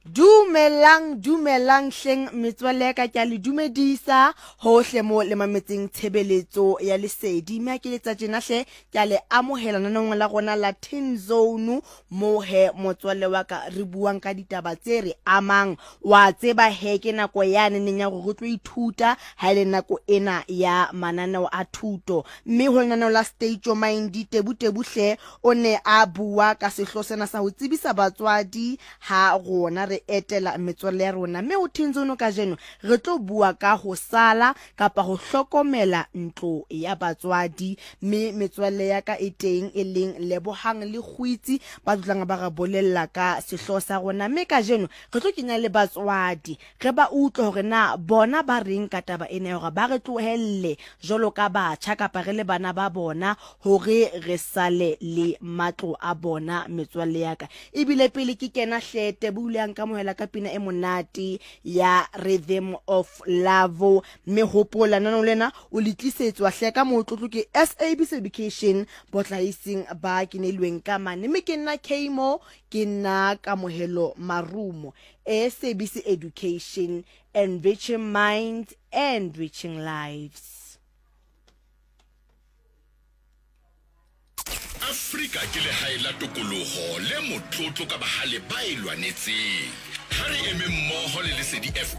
Dumelang, dumelang hleng metswalle ya ka, ke a le dumedisa hohle mo le mametseng tshebeletso ya lesedi. Mme ha ke letsa tjena hle, ke a le amohela nanong la rona la Teen Zone, mo he motswalle wa ka re buang ka ditaba tse re amang. Wa tseba he ke nako yane neng ya gore re tlo ithuta ha e le nako ena ya mananeo a thuto. Mme ho lenaneo la State Your Mind, Tebu Tebu hle o ne a bua ka sehloho sena sa ho tsebisa batswadi ha rona re etela metswalle ya rona. Mme ho Thinzono kajeno re tlo bua ka ho sala kapa ho hlokomela ntlo ya batswadi. Mme metswalle ya ka e teng e leng Lebohang le Kgwitsi ba tlotlang ba re bolella ka sehlooho sa rona. Mme kajeno re tlo kenya le batswadi re ba utlwe hore na bona ba reng ka taba ena ya hore ba re tlohelle jwalo ka batjha kapa re le bana ba bona hore re sale le matlo a bona. Metswalle ya ka, ebile pele ke kena hle, Tebo o ile a nkamohela ka pina e monate ya Rhythm of Love. Mme hopola, lenaneo lena o le tlisetswa hle ka motlotlo ke SABC Education, botlaising ba kenelweng ka mane. Mme ke nna Kmo, ke nna Kamohelo Marumo. SABC Education, enriching minds, enriching lives. Afrika ke legae la tokologo le motlotlo ka bagale ba e lwanetseng. Ha re eme mmoho le Lesedi FM.